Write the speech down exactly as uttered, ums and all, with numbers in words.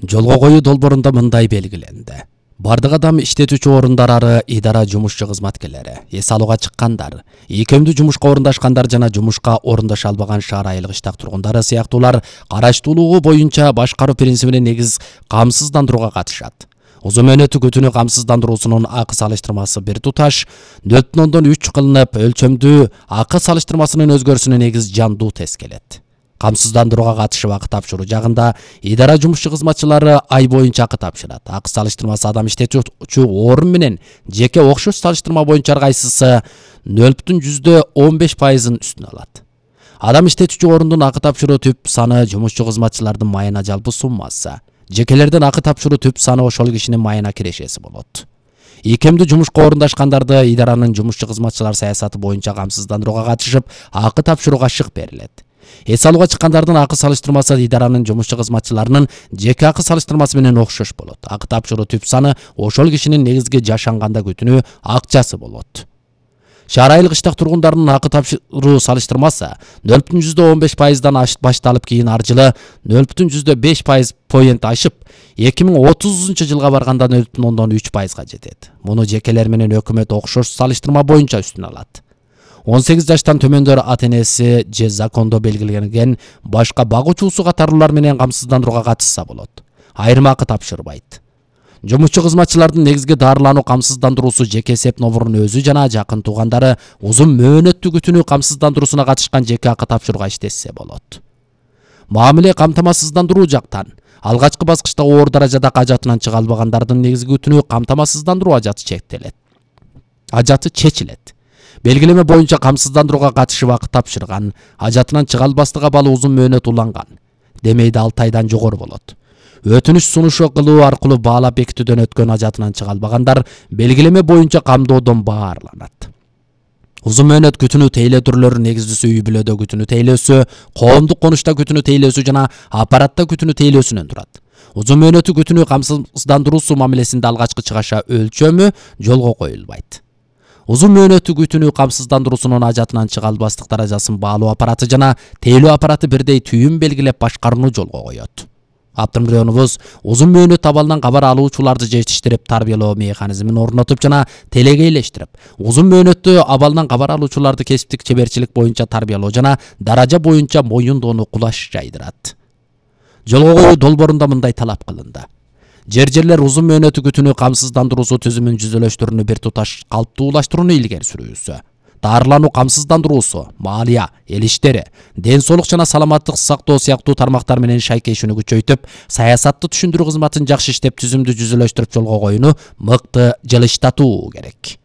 Жолго коюу долбоорунда мындай белгиленди. Бардык адам иштетүүчү орундары, идара жумушчу кызматкерлери, эс алууга чыккандар, ийкемдүү жумушка орундашкандар жана жумушка орундаша албаган шаар айылык иштак тургундары сыяктуулар караштуулугу боюнча башкаруу принцибине негиз камсыздандырууга катышат. Узун мөөнөттүү күтүүнү камсыздандыруусунун акы салыштырмасы бир туташ нөл бүтүн ондон үч кылынып, өлчөмдүү акы салыштырмасынын өзгөрүүсүнө негиз жандуу тез келет. Камсыздандырууга катышып акы тапшыруу жагында идара жумушчу кызматчылары ай боюнча акы тапшырат. Акы салыштырмасы адам иштетүүчү орун менен жеке окшош салыштырма боюнча ар кайсысы нөл бүтүн жүздө он беш пайызын үстүнө алат. Адам иштетүүчү орундун акы тапшыруу түп саны жумушчу кызматчылардын майына жалпы суммасы. Жекелердин акы тапшыруу түп саны ошол кишинин майына кирешеси болот. Ийкемдүү жумушка орундашкандарды идаранын жумушчу кызматчылар саясаты боюнча камсыздандырууга катышып акы тапшырууга шык берилет. Эс алууга чыккандардын акы салыштырмасы идаранын жумушчу кызматчыларынын жеке акы салыштырмасы менен окшош болот. Акы тапшыруу түп саны ошол кишинин негизги жашанганда күтүүнү акчасы болот. Шаар айылык иштак тургундарынын акы тапшыруу салыштырмасы нөл бүтүн жүздө он беш пайыздан башталып, кийин ар жылы нөл бүтүн жүздө беш пайыз поинт ашып, эки миң отузунчу жылга барганда нөл бүтүн ондон үч пайызга жетет. Муну жекелер менен өкмөт окшош салыштырма боюнча үстүнө алат. он сегиз жаштан төмөндөр ата-энеси же закондо белгиленген башка багуучусу катарлуулар менен камсыздандырууга катышса болот. Айрым акы тапшырбайт. Жумушчу кызматчылардын негизги дарылануу камсыздандыруусу жеке эсеп номурунун өзү жана жакын туугандары узун мөөнөттүү күтүүнү камсыздандыруусуна катышкан жеке акы тапшырууга иштешсе болот. Мамиле камтамасыздандыруу жактан алгачкы баскычта оор даражада ажатынан чыга албагандардын негизги күтүүнү камтамасыздандыруу ажаты чектелет. Ажаты чечилет. Белгилеме боюнча камсыздандырууга катышып акы тапшырган, ажатынан чыга албастыгы абалы узун мөөнөт уланган, демейде алты айдан жогору болот. Өтүнүч сунушу кылуу аркылуу баалап бекитүүдөн өткөн, ажатынан чыга албагандар белгилеме боюнча камдоодон баарланат. Узун мөөнөт күтүүнү тейлөө түрлөрү негиздүүсү үй бүлөдө күтүүнү тейлөөсү, коомдук конушта күтүүнү тейлөөсү жана аппаратта күтүүнү тейлөөсүнөн турат. Узун мөөнөттүү күтүүнү камсыздандыруусу мамилесинде алгачкы чыгаша өлчөмү жолго коюлбайт. Узун мөөнөттүү күтүүнү камсыздандыруусунун ажатынан чыга албастык даражасын баалоо аппараты жана тейлөө аппараты бирдей түйүн белгилеп башкарууну жолго коет. Автомобилёнубуз узун мөөнөт абалынан кабар алуучуларды жетиштирип, тарбиялоо механизмин орнотуп жана телегейлештирип, узун мөөнөттүү абалынан кабар алуучуларды кесиптик чеберчилик боюнча тарбиялоо жана даража боюнча моюндоону кулаш жайдырат. Жолго коюу долбоорунда мындай талап кылынды. Жер-жерлер узун мөөнөттүү күтүүнү камсыздандыруусу түзүмүн жүзөлөштүрүүнү бир туташ калыптуулаштырууну илгери сүрүүсү. Дарылануу камсыздандыруусу, малия, эл иштери, ден соолук жана саламаттык сактоо сыяктуу тармактар менен шайкешүүнү күчөйтүп, саясатты түшүндүрүү кызматын жакшы иштеп, түзүмдү жүзөлөштүрүп жолго коюуну мыкты жылыштатуу керек.